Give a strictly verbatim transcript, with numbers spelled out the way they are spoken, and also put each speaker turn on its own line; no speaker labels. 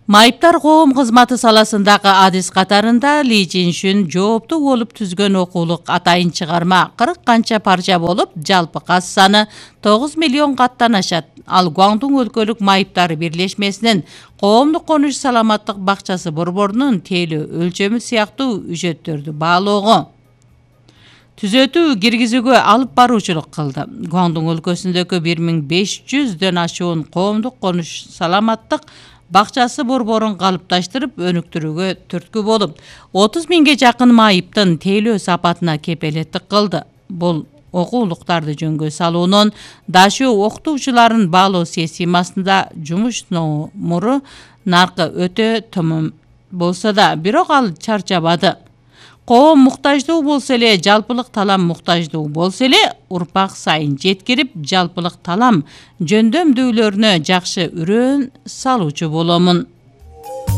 Майыптар коом кызматы саласындагы адис катарында Ли Жиншүн жооптуу болуп түзгөн окуулук атайын чыгарма кырк канча парча болуп, жалпы кас саны тогуз миллион каттан ашат. Ал Гуандун өлкөлүк майыптар бирлешмесинин коомдук конуш саламаттык бакчасы борборунун тейлөө өлчөмү сыяктуу үжөттөрдү баалоого, түзөтүү киргизүүгө алып баруучулук кылды. Гуандун өлкөсүндөгү бир миң беш жүздөн ашуун коомдук конуш саламаттык бакчасы борборун калыпташтырып өнүктүрүүгө түрткү болуп, отуз миңге жакын майыптын тейлөө сапатына кепелеттик кылды. Бул окуулуктарды жөнгө салуунун дашуу окутуучуларын баалоо системасында жумуш номуру наркы өтө төмөн болсо да, бирок ал чарчабады. Коом муктаждуу болсо эле, жалпылык талам муктаждуу болсо эле, урпак сайын жеткирип, жалпылык талам жөндөмдүүлөрүнө жакшы үрөөн салуучу боломун.